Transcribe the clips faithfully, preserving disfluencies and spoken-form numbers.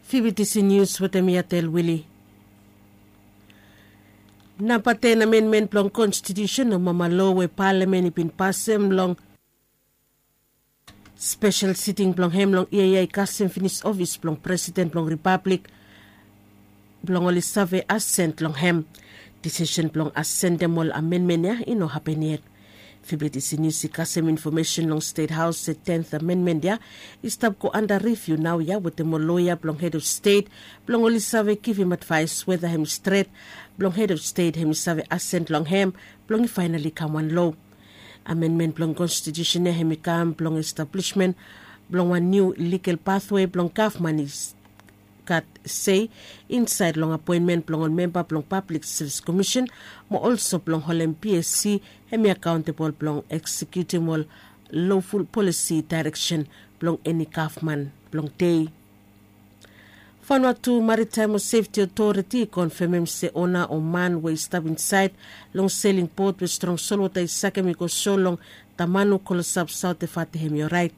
Fibitisi nius wetem yatel wili. Namba ten amenmen blong konstitiusen o mama lo we palamen i bin pasem long spesel siting blong hem long yia ya i kasem finis ofis blong presiden blong ripablik blong oli save asent long hem. Disisen blong asentem ol amenmen ya i no hapen yet. Fibitisi nius i kasem infomesen long stet haos se tenth amenmen ya i stap go anda riviu nao ya wetem ol loya blong hed of stet blong oli save givim advaes weda hem i stret blong hed of stet hem i save asent long hem blong i faenali kam wan lo. Amenmen blong konstitiusen ya hem i kam blong establismen blong wan niu ligal pathwe blong gavman i gat sei insaed long apoenmen blong ol memba blong pablik sevis komisen mo olso blong holem psc hem i akaontebol blong eksekiutim ol loful polisi daereksen blong eni gavman blong dei. Fanua tu maritaem o sefti otoriti i konfemem se ona o man we i stap insaed long seling bot we strong solwota i sakem i go so long tamanu kolosap saote fate hem i oraet.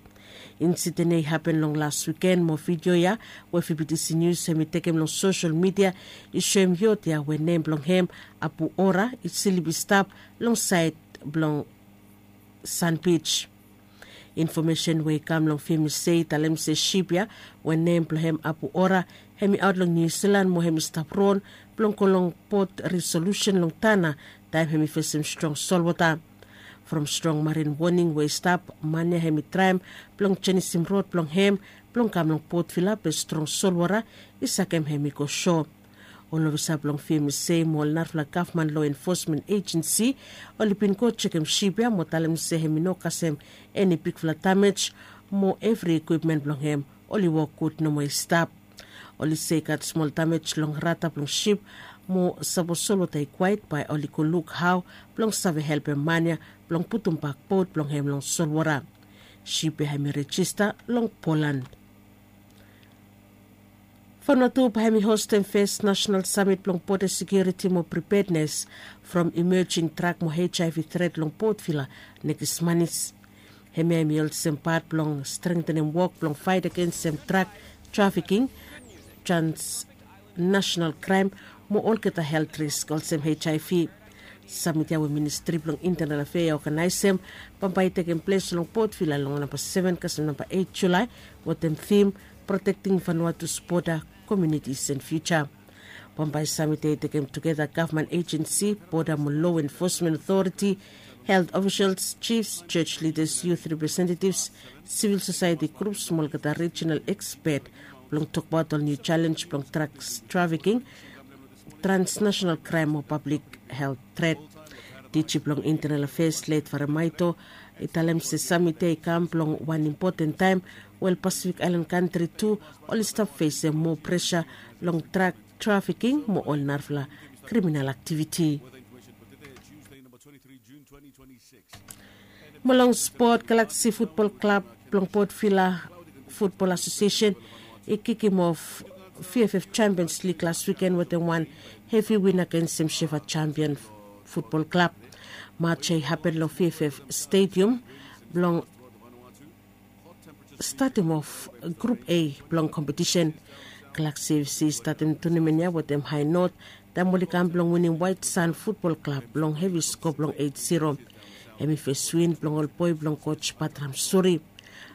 Insiden ya i hapen long las wiken mo vidio ya we fibitisi nius hem i tekem long sosel midia i soem yot ya we nem blong hem apu ora i slip i stap long saed blong sanbij. Infomesen we i kam long fim i se i talem se sip ya we nem blong hem apu ora hem i aot long niu silan mo hem i stap ron blong go long bot risolusen long tana taem hem i fesem strong solwota. From strong marin woning we i stap man ya hem i traem blong jenisim rod blong hem blong kam long bot vila be strong solwota i sakem hem i go so. Ol ofisa blong fim i se mo ol narafala gavman lo enfosmen ejensi oli bin go jekem sip ya mo talem se hem i no kasem eni bigfala damej mo evri ikwipmen blong hem oli wok gud nomo i stap. Oli se i gat smol damej long rata blong sip mo sapos solwota i kwaet bae oli go luk hao blong save helpem man ya blong putumbak bot blong hem long solwota. Sip ya hem i rejista long polan. Fanua tu bae hem i hostem fes nasenal samit blong bode sekiuriti mo pripednes from imejing drak mo hiv tret long bot vila nekis manis. Hemia hem i olsem pat blong strengtenem wok blong faet agensem drak trafiking, transnasenal kraem mo olgeta helt risk olsem hiv. Samit ya we ministri blong intenal afea i oganaesem bambae i tekem ples long bot vila long namba seven kasem namba eit julae wetem tim protekting vanuatus boda komiunitis en fiuja. Bambae samit ya i tekem tugeta gavman ejensi, boda mo lo enfosmen otoriti, helt ofisels, jifs, joj lidas, yut representetivs, sivil sosaeti grups mo olgeta rijinal ekspet blong tokbaot ol niu jalenj blong draks trafiking, transnasenal kraem mo pablik helt tret. Diji blong intenal afeas let faremaito i talem se samit ya i kam blong wan impoten taem we ol pasifik aelan kantri tu oli stap fesem moa presa long drak trafiking mo ol narafala kriminal aktiviti. Mo long spot, galaksi futbol klab blong bot vila futbol asosiesen i kikim of vff champions lig las wiken wetem wan hevi win agensem shefa champion futbol klab. Maj ya i hapen long vff stedium blong statem of grup a blong kompetisen. Galaksi fc i statem tunamen ya wetem hae not taem oli kam blong winim waet san futbol klab long hevi sko blong eit zero. Hem i fes win blong ol boe blong koj patram suri.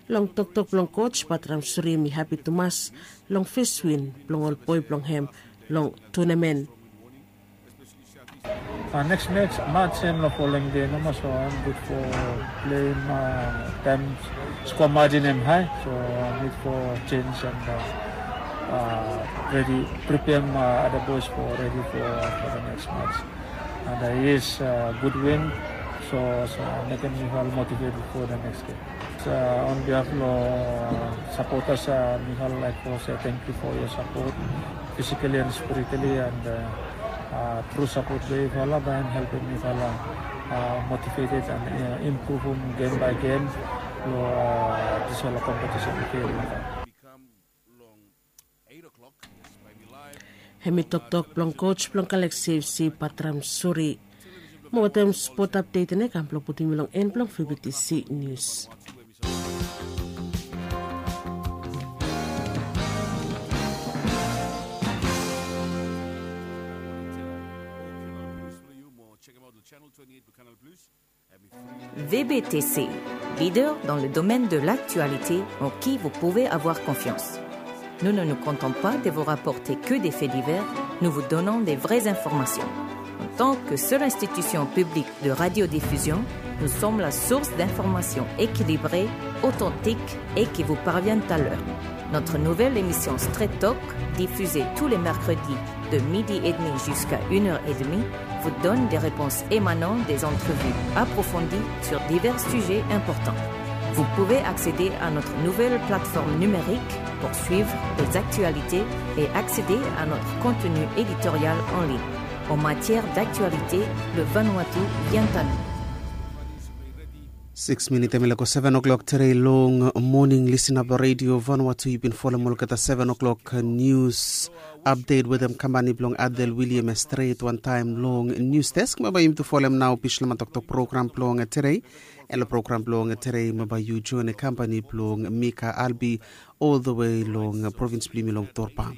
Long toktok blong koj patram suri hem i hapi tumas long fes win blong ol boe blong hem long tunamen. Neks mej maj hem long folem de nomo so hem gud fo pleim taem skoa majin hem hae so nid fo jenj and redi pripeam ada boes fo redi fo da neks mej. And yes, gud win so mekem mifal motiveted fo da neks gem. On bihaf long sapotas, mifal laek fo se tengkiu fo yoa sapot fisikali and spirituali and tru sapot blong yufala bae hem helpem mifala motiveted and impruvum gem bae gem long disfala kompetisen i fil. Hem i toktok blong koj blong Galaksi FC, Patram Suri. Mo wetem spot apdet ene kam blong putum yu long en blong Fibitisi Nius. V B T C, leader dans le domaine de l'actualité en qui vous pouvez avoir confiance. Nous ne nous contentons pas de vous rapporter que des faits divers, nous vous donnons des vraies informations. En tant que seule institution publique de radiodiffusion, nous sommes la source d'informations équilibrées, authentiques et qui vous parviennent à l'heure. Notre nouvelle émission Straight Talk, diffusée tous les mercredis de midi et demi jusqu'à une heure et demie, vous donne des réponses émanant des entrevues approfondies sur divers sujets importants. Vous pouvez accéder à notre nouvelle plateforme numérique pour suivre les actualités et accéder à notre contenu éditorial en ligne. En matière d'actualité, le Vanuatu vient à nous. Six minit em i laik go seven o'clock tere long morning. Listen up radio Vanuatu, yu bin folem olgeta seven o'clock news update wetem kampani bilong Adel William e stret wantaim long news desk. Maba yumi tu folem nau bislama toktok program bilong tere. Elo program bilong tere maba yu join e kampani bilong Mika Albi all the way long provins bilong yumi long Torpa.